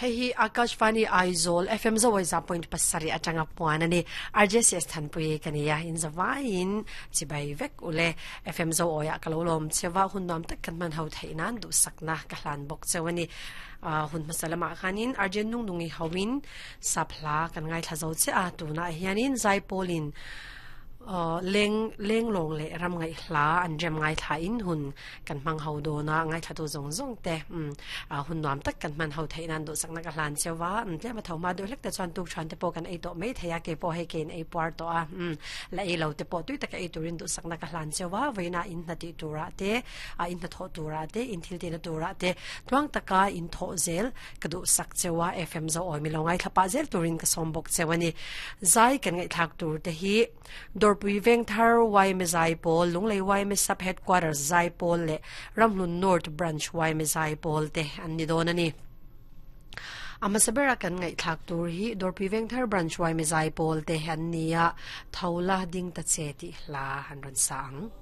Hei hi Akashvani Aizawl FM Zawaiza point pasarih atanga puan a ni. RJCS Thanpui ka ni a, in zavaiin chibai vek ule. FM Zoawiah ka lo lawm cheu a, hun nuam tak kan hman ho theih nan duhsakna ka hlan bawk cheu a ni. Hun hmasa lamah khanin RJ Nungnungi hoin sap hla kan ngaithla zo chiah a, tunah hianin Zaipawlin leng lenglawng leh ram ngaih hla an rem ngaithla in hun Kan hmang ho dawn a, ngaithlatu zawng zawng te hun nuam tak kan hman ho theih nan duhsakna ka hlan cheu a, tlem a tho hma deuh hlek te chuan tuk thian te pawh kan ei tawh mai thei a, kei pawh hei keiin ei puar tawh a, la ei lo te pawh tui taka ei turin duhsakna ka hlan cheu a, vawiinah in hna tih turah te, in hnathawh turah te, in thil tihna turah te tluang taka in thawh zel ka duhsak cheu a, FM zo awi milo ngaithla pah zel turin ka sawm bawk cheu a ni. Zai kan ngaihthlak tur te hi. Dawrpui Vengthar yma Zaipawl, Lunglei yma Sub Headquarters Zaipawl leh Ramhlun North Branch yma Zaipawl te an ni dawn a ni. A hmasa bera kan ngaihthlak tur hi Dawrpui Vengthar Branch yma Zaipawl te an ni a, Tho la ding ta che tih hla an rawn sa ang.